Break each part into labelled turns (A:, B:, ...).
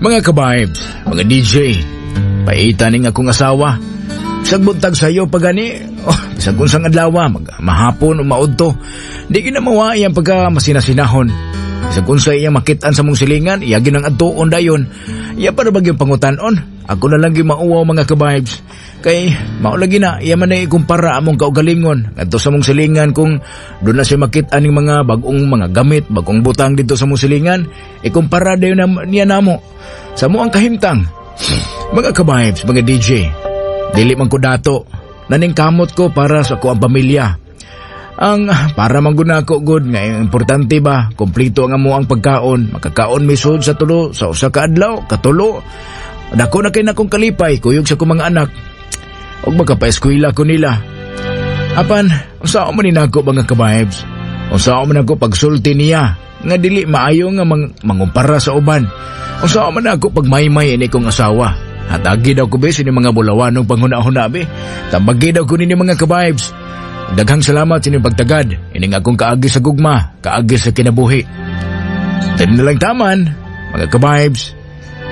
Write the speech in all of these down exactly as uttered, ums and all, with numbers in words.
A: Mga ka-vibes, mga D J, paita ning akong asawa. Bisag buntag sayo pagani, oh, bisag unsang adlaw, mag mahapon o maudto. Di ginamawa iyang pagka masinasinahon. Bisag unsa iyang makit-an sa mong silingan, iya ginang adtuon dayon. Iya para bagyong pangutanon. Ako na lang gyud mauwaw mga ka-vibes. Kay mao lagi na iya man ay ikumpara among kaugalingon ngadto sa mong silingan kung doon na siya makit-an ning mga bag-ong mga gamit, bag-ong butang dito sa mong silingan, ikumpara dayon na, niya namo sa mo ang kahimtang. Mga ka-vibes, mga D J, dili man ko dato, naningkamot ko para sa ko ang pamilya. Ang para man gud nako gud nga importante ba, kompleto ang amo ang pagkaon, makakaon misud sa tulo sa usa ka adlaw, katulo. Dako na kay nakong kalipay kuyog sa akong mga anak. Og makapaeskwela ko nila. Apan, unsa man ni nako mga ka-vibes? Unsa man ako pagsulti niya nga dili maayo nga mang, mangumpara sa uban. Unsa man ako pagmaymay ini kong asawa. Hatagi daw ko be sini mga bulawanong panghuna-huna be. Tambagi daw ko nini mga ka-vibes. Daghang salamat sa inyong pagtagad. Ining akong kaagi sa gugma, kaagi sa kinabuhi. Tayo na lang taman, mga ka-vibes.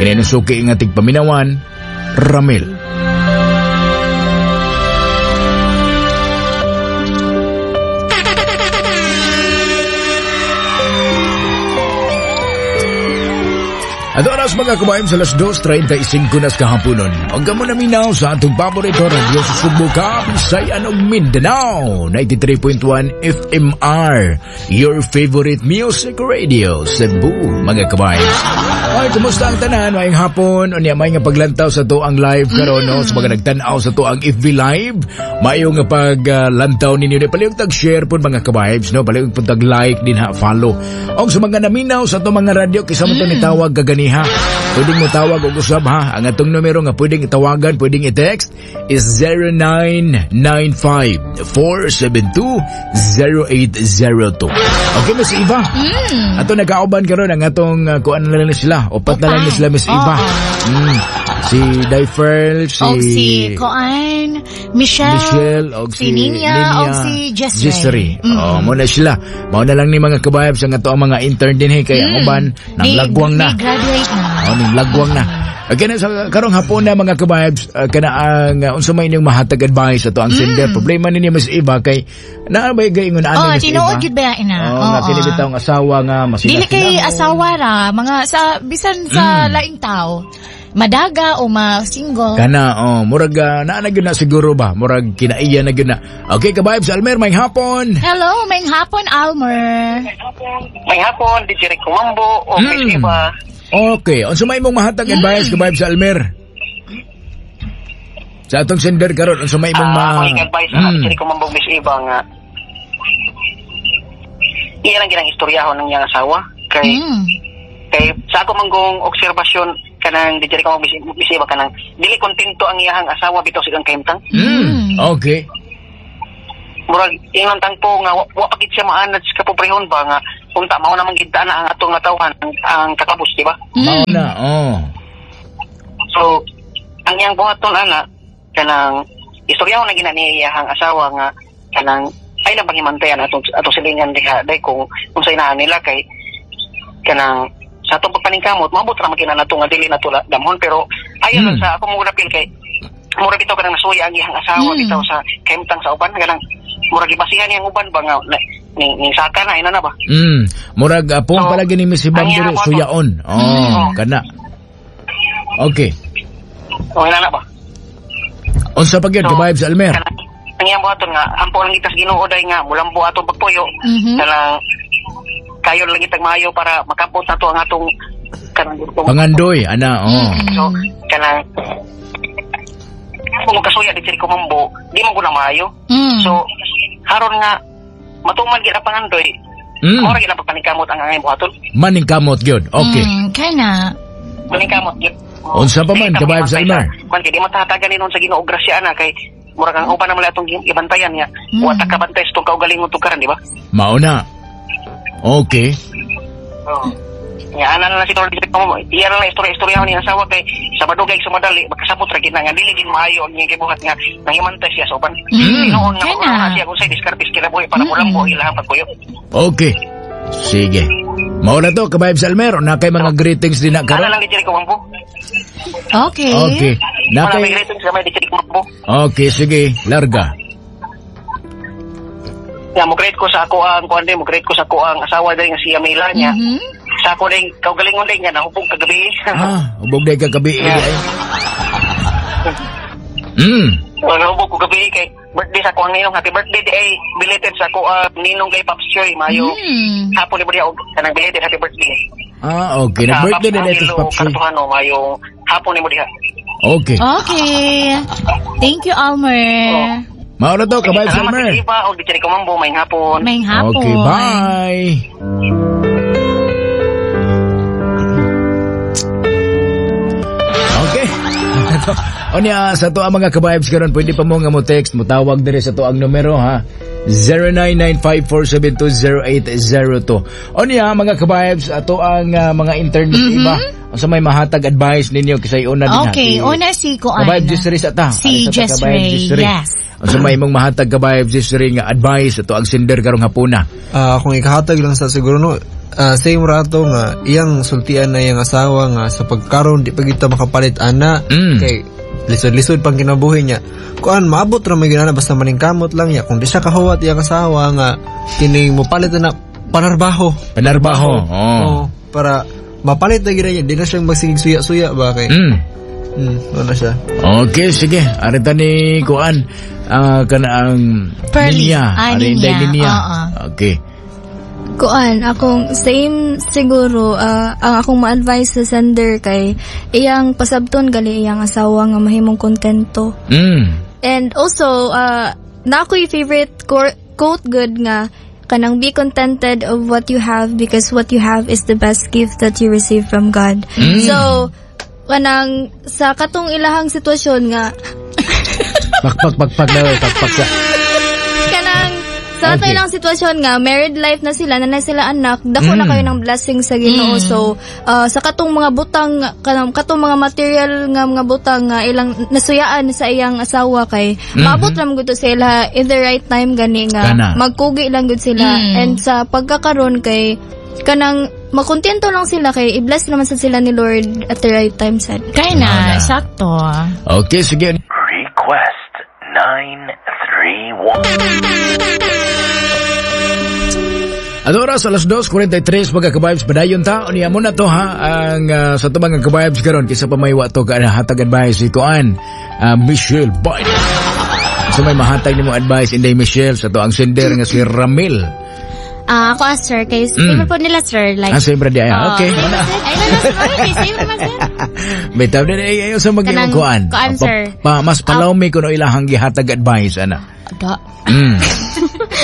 A: Kininusuki nga tigpaminawan, Ramil. At oras mga kabayan sa alas dos treinta y singko nas kahaponon. Huwag ka muna minaw sa atong paborito radyo sa Sugbo, Kabisayan ug Mindanao. ninety-three point one F M R, your favorite music radio, Cebu, mga kabayan. Ay, kumusta ang tanan? Maayong hapon. Unya, may nga paglantaw sa to ang live karon, no? Sa mga nagtan-aw sa to ang F B Live. Maayong nga paglantaw ninyo. Palihog tag-share po mga kabibes, no? Palihog po tag-like din ha, follow. Og sa mga naminaw sa to mga radyo, kisa mo to nitawag kaganiha. Pwedeng mo tawag og usab ha. Ang atong numero nga pwedeng itawagan, pwedeng i-text is zero nine nine five, four seven two, zero eight zero two. Okay, Miss Eva. Mm. Ato nagkauban karon ang atong uh, kuan na lang sila. Upat na lang ni sila, Miss Eva. Mm. Si Daiferl, si...
B: Og si Koan, Michelle,
A: Michelle, og si,
B: si Ninya,
A: Ninya,
B: og si Jessry.
A: Jessry. Mm. Oh, muna sila. Mao na lang ni mga kabayab sa nga to ang mga intern din eh, kay ang mm. uban nang lagwang na.
B: Graduate na.
A: Oh, ning lagwang na. Okay na, sa karong hapon na mga kabibes, uh, kana ang uh, unsa may inyong mahatag advice ato ang mm. sender. Problema ninyo Miss Eva kay naa ba gaingon ani
B: oh,
A: Miss Eva?
B: Tinuod gyud ba ina?
A: Oh, oh, nga kini bitaw ang asawa nga masina.
B: Dili kay asawa ra, mga sa bisan sa mm. laing tao. Madaga o ma-single.
A: Kana, oh, murag uh, naa na gyud na siguro ba? Murag kinaiya na gyud na. Okay, kabibes, Almer, may hapon.
B: Hello, may hapon, Almer.
C: May hapon, D J Rico Mambo o mm. Miss Eva.
A: Okay, unsa may imong mahatag advice mm. kabibes Almer? Sa atong sender karon, unsa may imong ma
C: uh, advice mm. D J Rico Mambo, Miss Eva nga iya lang ginang istoryahon ng iyang asawa kay mm. kay sa ako manggong obserbasyon kanang D J Rico Mambo, Miss Eva, kanang dili kontento ang iyang asawa bitaw sa iyang kahimtang.
A: Mm. Okay.
C: Murag ingon tangpo nga wa, wa pa gid siya maanad sa kapobrehon ba nga unta mao naman gid na ang atong natawhan ang, ang kakabus, di ba?
A: Mm. Mao na, oh.
C: So ang iyang buhaton ana kanang istorya na gina ni iyang asawa nga kanang ay lang panghimantayan atong atong silingan diha day kung unsay naa nila kay kanang sa atong pagpaningkamot maabot ra man nato nga dili nato damhon pero ayon mm. sa ako mo napil kay mura bitaw kanang nasuya ang iyang asawa mm. bitaw sa kahimtang sa uban kanang murag gibasihan niyang uban ba nga ning ning saka na ina na ba.
A: Mm. Murag apong so, palagi ni Miss Ibang diri suyaon. Oh, mm. kana. Okay.
C: Oh, ina na ba.
A: Unsa pa gyud so, ka-vibes Almer?
C: Ang iyang buhaton nga ampo lang kita sa Ginoo day nga mulambo atong pagpuyo. Mm-hmm. Kanang kayo lang kitag maayo para makabot nato ang atong kanang
A: pangandoy ana oh.
C: So kanang kung kasuya di ko mambo, di man ko na maayo.
B: Mm.
C: So haron nga matuman gid ang pangandoy.
A: Mm.
C: Mora gid ang pagpaningkamot ang angay buhaton.
A: Maningkamot gyud. Okay.
B: Mm, kana.
C: Maningkamot gyud.
A: Unsa pa man ka-vibes Almer?
C: Kung di matahatagan ni nun sa Ginoo grasya ana kay murag ang uban naman atong ibantayan nga.
B: Mm.
C: Wa ta kabantay sa tong kaugalingon tukaran, di ba?
A: Mao na. Okay.
C: Oh. Nga ana na lang siguro dito mo. Iya na lang istorya-istorya ni asawa kay sa madugay sa madali makasabot ra gid na nga dili gid maayo ang iyang gibuhat nga nangimantay siya sa uban.
B: Mm.
C: Tinuon nga
B: Kana.
C: na siya kung say diskarte kinabuhi para
B: Mm.
C: mulambo ilahang pagpuyo.
A: Okay. Sige. Mao na to, ka-vibes Almer. Na kay mga greetings din na
C: Ana
A: karon.
C: lang di ko mambo.
B: Okay.
A: Okay. Na
C: Wala
A: kay
C: may greetings gamay di ko mambo.
A: Okay, sige. Larga.
C: Ya mo greet ko sa ako ang kuan din, mo greet ko sa ako ang asawa din nga si Amila niya.
B: Mhm.
C: Sa ako din kaugalingon din nga nahubog kagabi.
A: Ah, hubog day kagabi.
C: Yeah.
A: Eh. Mm.
C: Oh, nahubog ko gabi kay birthday sa ako ang ninong happy birthday di ay belated sa ako ang ninong kay Pops Choi mayo.
B: Mm.
C: Hapon ni og kanang belated happy birthday.
A: Ah, okay. Nag-birthday na dito sa Pops Choi.
C: Kartuhano mayo hapon ni mo diha.
A: Okay.
B: Okay. Thank you, Almer.
A: Mao na to, ka-vibes
C: Salamat
A: Almer.
C: sa iba og di ko mambo may hapon.
B: May hapon.
A: Okay, bye. Okay. O niya, sa to ang mga ka-vibes karon pwede pa mo nga mo text, mo tawag dire sa to ang numero ha. zero nine nine five four seven two zero eight zero two. O niya, mga ka-vibes, ato ang uh, mga intern mm -hmm. iba. Unsa may mahatag advice ninyo kisay una din ha.
B: Okay, una si Kuan.
A: Ka-vibes Jessry sa ta.
B: Si Jessry, yes.
A: Unsa may imong mahatag ka-vibes Jessry nga advice ato ang sender karong hapuna?
D: Ah, uh, kung ikahatag lang sa siguro no, uh, same rato nga iyang sultian na iyang asawa nga sa pagkaron di pa kita makapalit ana
A: mm.
D: kay lisod-lisod pang kinabuhi niya. Kuan maabot ra may ginana basta maningkamot lang niya kung di siya kahuwat iyang asawa nga kining mopalit na panarbaho.
A: Panarbaho. Oh.
D: Oh, para mapalit na gid niya di na siyang magsigig suya-suya ba kay.
A: Mm.
D: Mm, ano siya.
A: Okay, sige. Arita ni kuan uh, kana ang
B: Pearly.
A: Ninya.
B: Ah,
A: Ari
B: Ninya.
A: Ninya.
B: Oo.
A: Okay.
E: Kuan, akong same siguro uh, ang akong ma-advise sa sender kay iyang pasabton gali iyang asawa nga mahimong kontento.
A: Mm.
E: And also uh, na ako'y favorite quote good nga kanang be contented of what you have because what you have is the best gift that you receive from God.
A: Mm.
E: So kanang sa katong ilahang sitwasyon nga
A: pakpak pakpak daw pakpak sa
E: kanang sa okay. Ilang sitwasyon nga married life na sila na na sila anak dako
A: mm.
E: na kayo ng blessing sa Ginoo.
B: Mm.
E: So uh, sa katong mga butang kanang katong mga material nga mga butang nga ilang nasuyaan sa iyang asawa kay
A: mm-hmm.
E: maabot lang gud sila in the right time gani nga
A: Kana.
E: magkugi lang gud sila.
B: Mm.
E: And sa pagkakaron kay kanang makontento lang sila kay i-bless naman sa sila ni Lord at the right time sad.
B: Kay na, sakto.
A: Okay, sige.
F: Request nine three one.
A: At oras, alas dos forty-three, mga ka-vibes, padayon ta. Unya muna to ha, ang uh, sa ito mga ka-vibes karon kaysa pa may wato ka hatag advice si Kuan, uh, Michelle Biden. So may mahatag nimo advice, Inday Michelle, sa to ang sender nga si Ramil.
G: Ah, uh, ako as sir, kay same
A: mm.
G: po nila sir, like.
A: Ah, same ra di ay.
G: Uh,
A: Okay.
G: Same, sir. Ay, no, no, sir. Okay, same naman sir.
A: Bitaw din ay ayo sa mag-iyong
G: Kanang
A: kuan.
G: kuan,
A: Pa,
G: sir.
A: pa, mas palawmi kuno ilahang gihatag advice ana.
G: Da.
A: Mm.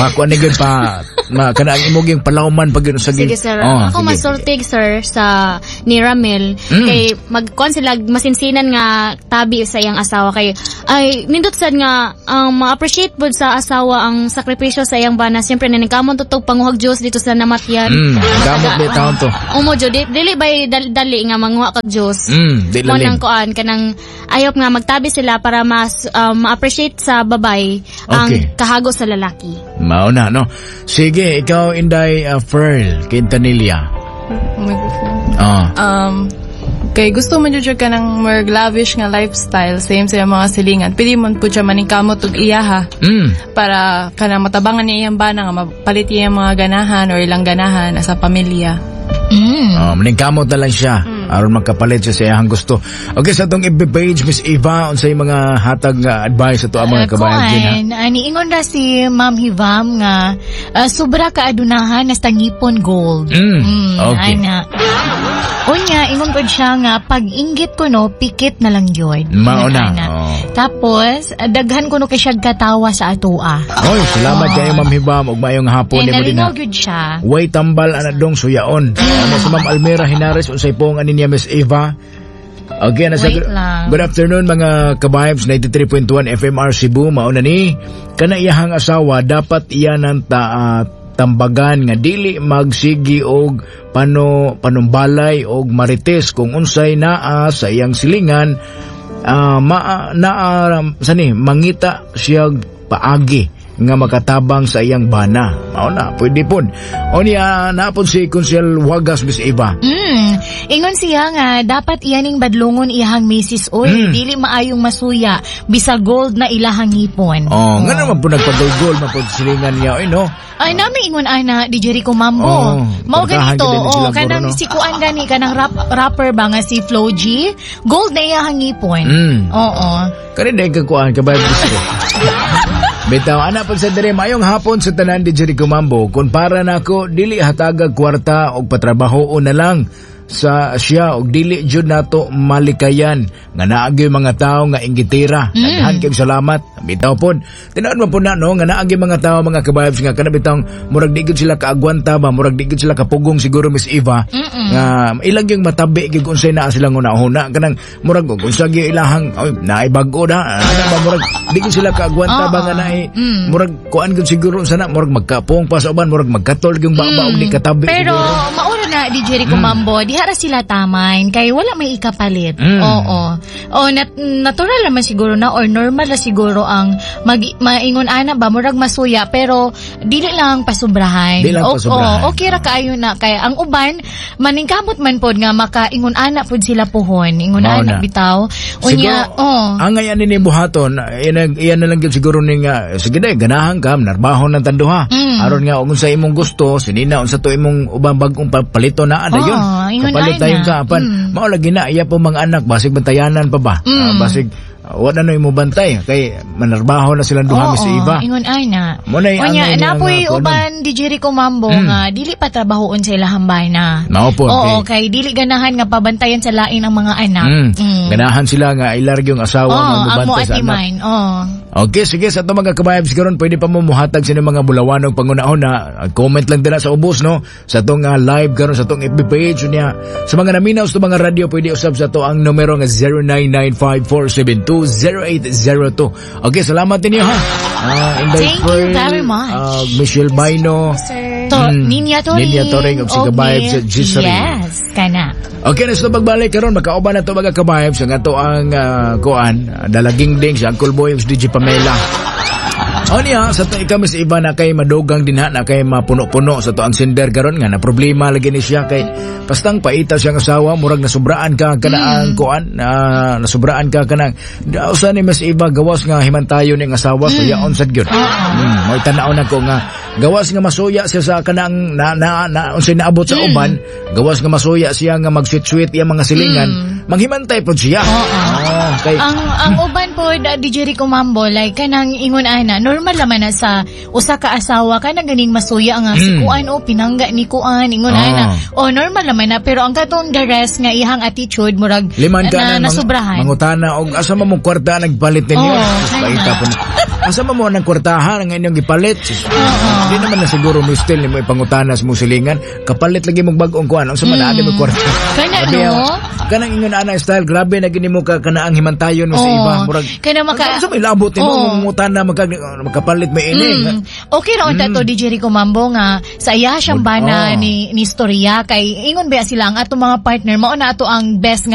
A: Pa kuan ni gyud pa ma kana ang imong yung palawman pag yun sa
G: Sige sir.
A: Oh,
G: ako
A: sige,
G: masultig sir sa ni Ramil
A: Mm.
G: kay magkuan sila masinsinan nga tabi sa iyang asawa kay ay nindot sad nga ang um, ma-appreciate pud sa asawa ang sakripisyo sa iyang bana. Siyempre naningkamon tutog panguhag Dios dito sa namatyan.
A: Mm, gamot ni taon to.
G: Umo jud di, dili bay dali, dali nga manguha kag Dios.
A: Mm, di
G: Mo
A: lalim.
G: nang kuan kanang ayop nga magtabi sila para mas um, ma-appreciate sa babay ang
A: Okay.
G: kahago sa lalaki.
A: Mao na no. Sige, ikaw Inday uh, Pearl Quintanilla.
H: Microphone.
A: Ah.
H: Um, kay gusto man jud ka ng more lavish nga lifestyle, same sa mga silingan. Pili man po siya maningkamot og iyaha
A: Mm.
H: para kana matabangan niya iyang bana nga mapalit niya iyang mga ganahan or ilang ganahan sa pamilya.
B: Mm.
A: Oh, maningkamot na lang siya.
H: Mm.
A: Aron magkapalit siya sa iyang gusto. Okay, sa atong F B page, Miss Eva, unsay mga hatag nga advice ato ang mga
B: Uh,
A: kabayan din ha?
B: kuan, ani ingon ra si Ma'am Hivam nga uh, sobra ka adunahan hasta ngipon gold.
A: Mm, okay.
B: Ana. Unya, ingon pod siya nga pag inggit ko no, pikit na lang yun.
A: Mao na,
B: Ana.
A: oh.
B: Tapos, daghan ko no kay siya katawa sa atoa.
A: Oy, salamat kayo Ma'am Hivam ug maayong hapon
B: Eh,
A: nimo din ha.
B: nalingaw gyud siya.
A: Way tambal ana dong suyaon. Ano si Ma'am Almira Hinares unsay pong ani niya Miss Eva? Okay, na sa
B: Wait lang.
A: Good afternoon mga ka-vibes ninety-three point one F M R Cebu mao na ni kana iyahang asawa dapat iya nang ta, uh, tambagan nga dili magsigi og pano panumbalay og marites kung unsay naa sa iyang silingan uh, ma, naa sani mangita siya paagi nga makatabang sa iyang bana. Mao na, pwede pud. O niya, napod si Consel Wagas, Miss Eva.
B: Mm. Ingon siya nga dapat iyaning badlongon iyahang misis oy,
A: Mm.
B: dili maayong masuya bisa gold na ilahang ngipon.
A: Oh, nga naman po nagpagulgol man po silingan niya, oy no.
B: Ay nami ingon ana di Jericho Mambo.
A: Oh,
B: Mao
A: kwartahan
B: ganito,
A: gid ni
B: oh,
A: sila
B: kanang
A: guro, no?
B: si kuan gani kanang rap, rapper ba nga si Flo G, gold na iyahang ngipon.
A: Mm.
B: Oo.
A: Kani dahil kakuan ka ba gusto? Bitaw, ana pag sa dire, mayong hapon sa tanan di Jericho Mambo, kung para nako dili hatagag kwarta og patrabaho na lang sa siya og dili jud nato malikayan nga naagi mga tao nga inggitira. Mm. Daghan kayong salamat. Bitaw pod. Tinuod man po na no nga naagi mga tao mga kabibes nga kana bitang murag di gud sila kaagwanta ba murag di gud sila kapugong siguro Miss Eva
B: Mm-mm.
A: nga ilang yung matabi gyud unsay naa silang una-una kanang murag og unsa gyud ilahang oy naay bag-o na ana ba murag di gud sila kaagwanta ba nga naay
B: Mm.
A: murag kuan gyud siguro unsa na murag magkapong pa sa uban murag magkatol yung baba og di katabi
B: Pero
A: siguro.
B: maura na di Jericho Mambo, diha ra sila tamayn kay wala may ikapalit.
A: Mm.
B: Oo. O nat- natural naman siguro na or normal na siguro ang mag maingon ana ba murag masuya pero dili lang pasubrahan.
A: Dili lang
B: O-
A: pasubrahan.
B: o, okay ra kaayo na kay ang uban maningkamot man pod nga makaingon ana pod sila puhon. Ingon
A: Mao
B: ana
A: na.
B: bitaw. Unya,
A: Siguro,
B: oh.
A: ang ngayon ni buhaton, iyan, iyan na lang gyud siguro ning nga, sige day, ganahan ka, narbaho ng tanduha.
B: Mm.
A: Aron nga, kung sa imong gusto, sinina, unsa to imong ubang bagong palito na, ada
B: Oh,
A: yun.
B: ingon
A: Kapalit
B: ana.
A: tayo ka, apan,
B: Mm.
A: mao lagi na, iya po mga anak, basig bantayanan pa ba?
B: Mm.
A: Ah, basig, uh, wala na imo bantay, kay manarbaho na silang duha
B: Oo,
A: Miss Eva.
B: ingon ana.
A: Mo na yung
B: Unya,
A: angay niya
B: napoy
A: nga, kuno.
B: uban di Jericho Mambo
A: Mm.
B: nga dili pa trabahoon sa ilahang bana.
A: Mao po,
B: Oo, kay dili ganahan nga pabantayan sa lain ang mga anak.
A: Mm.
B: Mm.
A: Ganahan sila nga ilarg yung asawa
B: Oo,
A: nga
B: ang mo
A: mubantay sa anak.
B: atiman. Oo.
A: Okay, sige, sa itong mga kabayabs karon pwede pa mo muhatag sa inyong mga bulawanog pangunahon na comment lang dira sa ubos, no? Sa itong uh, live karon sa itong F B page niya. Sa mga naminaw sa mga radyo, pwede usab sa to ang numero nga zero nine nine five four seven two zero eight zero two. Okay, salamat ninyo ha. Uh, Inday
B: Thank you
A: Pearl,
B: very much.
A: Uh, Michelle Baino.
E: Sir.
B: To,
A: Mm.
B: Ninya Toring.
A: Ninya Toring og si Kabayab sa Gisari.
B: Yes, kana.
A: Okay, na sa pagbalik karon makauban na to mga kabayab sa nga to ang uh, kuan, dalaging ding si Uncle Boy ug si D J Pamela. O niya, sa to ikaw Miss Eva na kay madugang din ha, na kay mapuno-puno sa to ang sender karon nga na problema lagi ni siya kay pastang paita siyang asawa murag nasubraan ka kana ang
B: Mm.
A: kuan, uh, nasubraan ka kanang usa ni Miss Eva gawas nga himantayo ning asawa so
B: Mm.
A: yaon sad gyud. Mm, mo'y tan-aw na ko nga gawas nga masuya siya sa kanang na, na, na unsay naabot sa
B: Mm.
A: uban, gawas nga masuya siya nga mag-sweet-sweet iyang mga silingan,
B: Mm.
A: manghimantay pod siya.
B: Oo.
A: Oh, kay
B: Ang ang uban po da, di Jericho Mambo like kanang ingon ana normal naman na sa usa ka asawa kanang ganing masuya nga si
A: Mm.
B: kuan o pinangga ni kuan ingon
A: Ah.
B: ana o normal naman na pero ang katong the rest nga ihang attitude murag
A: Liman ka
B: na,
A: na, mang-
B: nasubrahan.
A: mangutana og asa man mong kwarta nagpalit ninyo.
B: Oo,
A: Sus,
B: kana.
A: paita po na. Asa man mo ang kwartahan ang inyong gipalit? Sus, Di naman na siguro mo still nimo ipangutana sa mong silingan. Kapalit lagi mong bag-ong kuan. Unsa man mm. mo kwarta?
B: Kana,
A: Grabe,
B: no?
A: ah. Kanang ingon ana style grabe na gini mo ka kana ang himantayon mo sa
B: Oo.
A: iba. Murag
B: Kana maka-
A: Unsa may labot nimo
B: Oo.
A: mangutana magka, makapalit may ini.
B: Mm. Okay ra unta to D J Rico Mambo nga sa iya siyang bana
A: Oh.
B: ni ni storya kay ingon ba sila ang atong mga partner mao na ato ang best nga